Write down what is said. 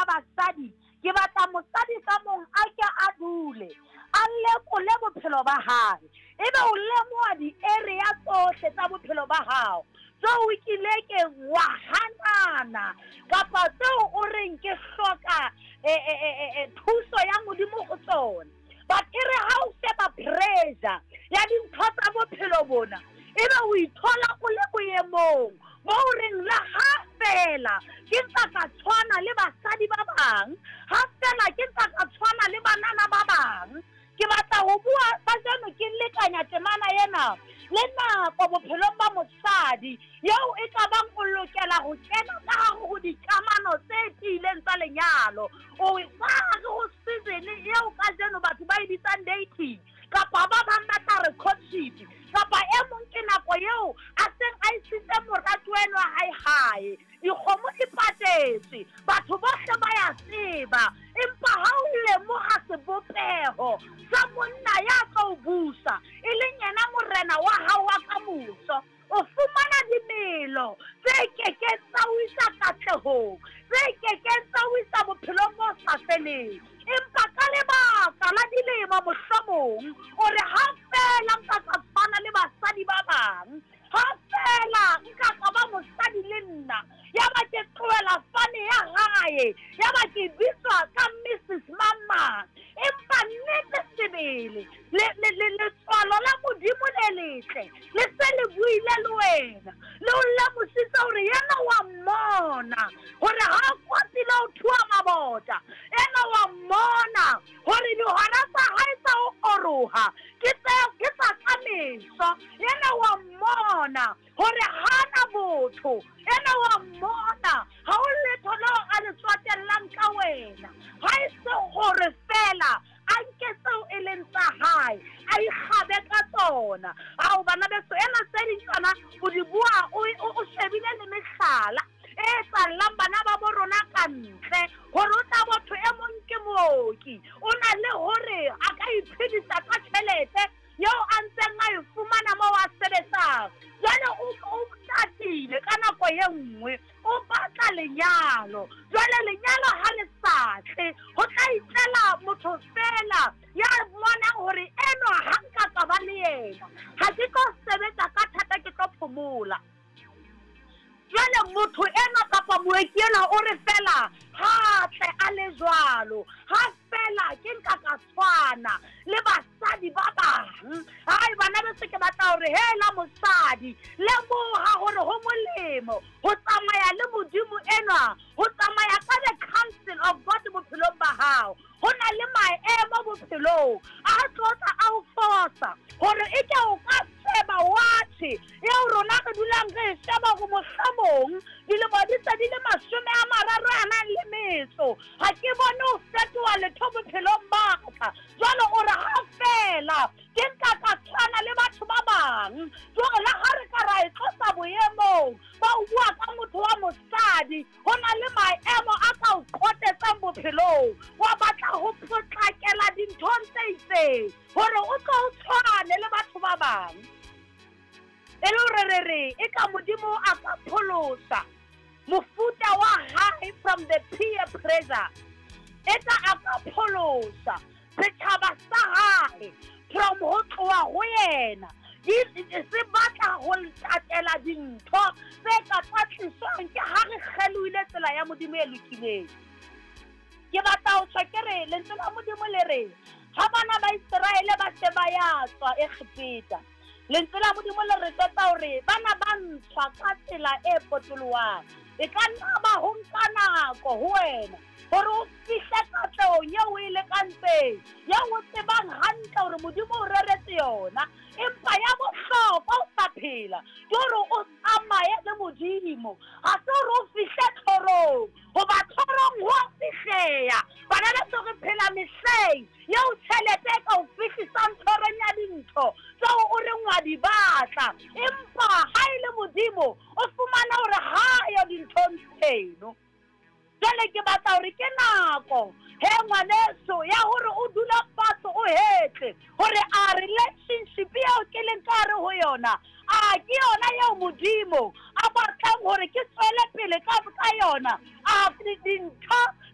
Basadi, ke batla mosadi ka mong a ke a dule a lekole bophelo ba hae, ebe o lemoha di-area tsohle tsa bophelo ba hao tseo o kilekeng wa hanana kapa tseo o reng ke hloka thuso ya Modimo ho tsona. But e re ha o sheba pressure ya dintho tsa bophelo bona, ebe o ithola o le boemong bo o reng le ha fela ke ntsa ka tshwana le basadi ba bang, ha fela ke ntsa ka tshwana le banana ba bang. Ke batla ho bua kajeno ke lekanya temana ena le nako bophelong ba mosadi eo e ka bang o lokela ho kena ka hare ho dikamano tse tiileng tsa lenyalo. O ka hare ho season eo kajeno batho ba e bitsang dating, kapa ba bang ba tla re courtship, kapa e mong ke nako eo a seng a isitse moratuwa enwa hae hae, dikgomo di patetswe, batho bohle ba ya tseba, empa ha o lemoha sebopeho sa monna ya tlo o busa, e leng yena morena wa hao wa kamoso, o fumana dimelo tse kekeng tsa o isa katlehong, tse kekeng tsa o isa bophelong bo sa feleng. Empa ka lebaka la dilemo mohlomong o re ha fela nka ka tshwana le basadi ba bang, ha fela nka ka ba mosadi le nna, ya ba ke tlohela fane ya hae, ya ba ke bitswa ka Mrs Mamang. Empa nnete sebele letswalo la Modimo le letle le se le buile le wena, le o lemositse hore yena wa mmona hore ha a kwatile ho thuwa mabota, ena wa mmona hore dihora tsa hae tsa ho oroha ke tsa ka meso, yena wa mmona hore hana botho, ena wa mmona ha o letho leo a le tswatellang ka wena, ha e se hore fela a nke tseo e leng tsa hae a ikgabe ka tsona. Ao bana beso, ena tse ding tsona o di bua o shebile le mehlala e tsallang bana ba bo rona ka ntle, hore o tla motho e mong ke mooki, o na le hore a ka iphedisa ka tjhelete eo a ntseng a e fumana moo a sebetsang. Jwale o tatile ka nako e nngwe, o batla lenyalo. Jwale lenyalo ha le sa tle, ho tla itlela motho fela ya bonang hore enwa ha nka ka ba le yena, ha ke tlo sebetsa ka thata, ke tlo phomola. Jwale motho enwa kapa mooki enwa o re fela ha tle a le jwalo, ha fela ke nka ka tshwana le basadi ba bang. Hai bana beso, ke batla hore hela mosadi, lemoha hore ho molemo ho tsamaya le Modimo enwa, ho tsamaya ka the counsel of God bophelong ba hao. Ho na le maemo bophelong a tlo tla a o fosa hore e ke o ka sheba watjhe eo rona re dulang re e sheba hore mohlomong dilemo di se di le 35, ha ke bone ho fetoha letho bophelong ba ka. Jwale o re ha fela ke nka ka tshwana le batho ba bang, jwale le ha re ka ra e tlosa boemong ba o bua ka motho wa mosadi, ho na le maemo a ka o qotetsang bophelong, wa batla ho potlakela dinthong tse itseng hore o tlo o tshwane le batho ba bang. E le hore re re e ka Modimo a ka pholosa mofuta wa hae from the peer pressure, e ka a ka pholosa setjhaba sa hae from ho tloha ho yena, se batla ho latela dintho tse ka tlatliswang ke ha re kgelohile tsela ya Modimo e lokileng. Ke batla ho tjho ke re lentswe la Modimo le re ha bana ba Iseraele ba se ba ya tswa Egepeta, lentswe la Modimo le re jwetsa hore bana ba ntshwa ka tsela e potolohang. E ka nna ba ho nka nako ho wena hore o fihle katlehong eo o e lekantseng, eo o tsebang hantle hore Modimo o reretse yona. Empa ya bohlokwa o sa phela ke hore o tsamaye le Modimo, ha se hore o fihle tlhorong, hoba tlhorong ho a fihleha. Bana beso, re phela mehleng eo tjhelete e ka o fihlisang tlhorong ya dintho tseo o reng wa di batla, empa ha e le Modimo o fumana hore ha yo dinthong tseno. Jwale ke batla hore ke nako he ngwaneso ya hore o dula fatshe o hetle hore a relationship eo ke leng ka hare ho yona, a ke yona eo Modimo a batlang hore ke tswele pele ka yona, a dintho